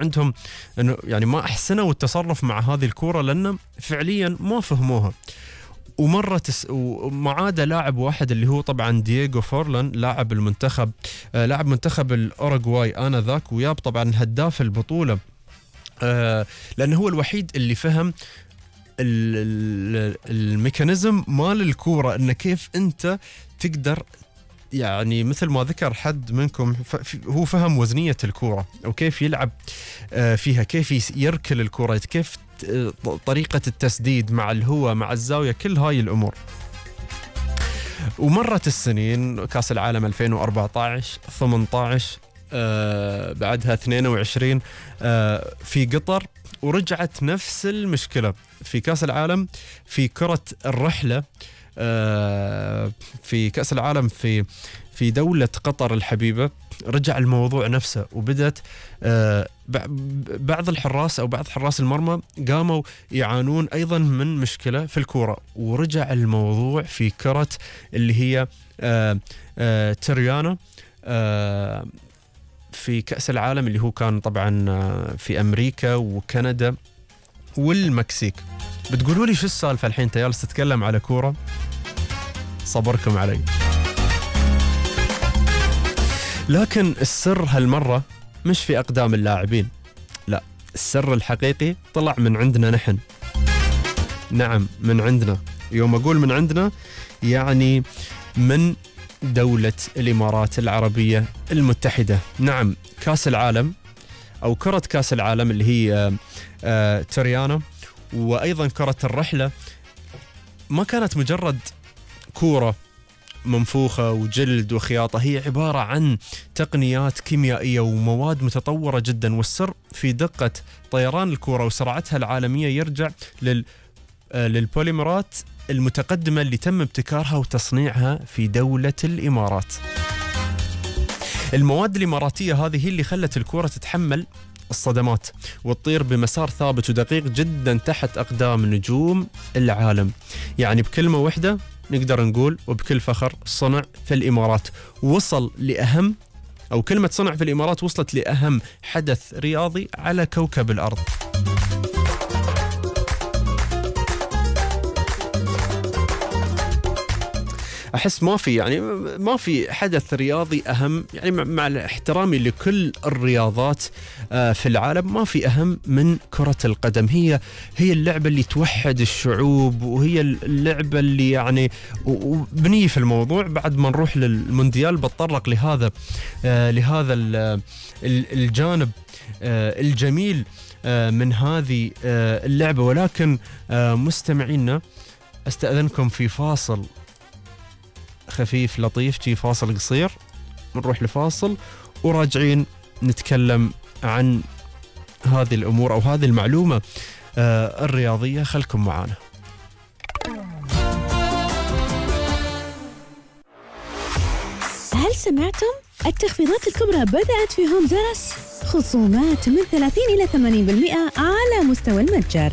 عندهم إنه يعني ما أحسنوا التصرف مع هذه الكورة لأنه فعليا ما فهموها. وما عاد لاعب واحد اللي هو طبعا دييغو فورلان لاعب المنتخب، لاعب منتخب الأوروغواي آنذاك، وياب طبعا هداف البطولة، لأنه هو الوحيد اللي فهم الميكانيزم مال الكورة، إنه كيف أنت تقدر يعني مثل ما ذكر حد منكم هو فهم وزنية الكورة وكيف يلعب فيها، كيف يركل الكورة، كيف طريقة التسديد مع الهواء مع الزاوية، كل هاي الأمور. ومرت السنين، كاس العالم 2014 18 بعدها 22 في قطر، ورجعت نفس المشكلة في كاس العالم في كرة الرحلة، في كأس العالم في دولة قطر الحبيبة. رجع الموضوع نفسه، وبدأت بعض الحراس أو بعض حراس المرمى قاموا يعانون أيضا من مشكلة في الكرة، ورجع الموضوع في كرة اللي هي تريانا في كأس العالم اللي هو كان طبعا في أمريكا وكندا والمكسيك. بتقولوا لي شو السالفة الحين جالس تتكلم على كورة؟ صبركم علي. لكن السر هالمرة مش في أقدام اللاعبين، لا، السر الحقيقي طلع من عندنا نحن. نعم، من عندنا. يوم أقول من عندنا يعني من دولة الإمارات العربية المتحدة. نعم، كاس العالم أو كرة كاس العالم اللي هي تريانا، وأيضا كرة الرحلة، ما كانت مجرد كورة منفوخة وجلد وخياطة، هي عبارة عن تقنيات كيميائية ومواد متطورة جدا. والسر في دقة طيران الكورة وسرعتها العالمية يرجع للبوليمرات المتقدمة اللي تم ابتكارها وتصنيعها في دولة الإمارات. المواد الإماراتية هذه هي اللي خلت الكورة تتحمل الصدمات وتطير بمسار ثابت ودقيق جدا تحت أقدام نجوم العالم. يعني بكلمة واحدة نقدر نقول وبكل فخر، صنع في الإمارات. وصل لأهم، أو كلمة صنع في الإمارات وصلت لأهم حدث رياضي على كوكب الأرض. أحس ما في حدث رياضي أهم، يعني مع احترامي لكل الرياضات في العالم، ما في أهم من كرة القدم. هي اللعبة اللي توحد الشعوب، وهي اللعبة اللي يعني وبنية في الموضوع. بعد ما نروح للمونديال بتطرق لهذا الجانب الجميل من هذه اللعبة. ولكن مستمعينا، استأذنكم في فاصل خفيف لطيف، فاصل قصير، نروح لفاصل وراجعين نتكلم عن هذه الأمور أو هذه المعلومة الرياضية. خلكم معنا. هل سمعتم؟ التخفيضات الكبرى بدأت في هوم زرس، خصومات من 30 إلى 80% على مستوى المتجر.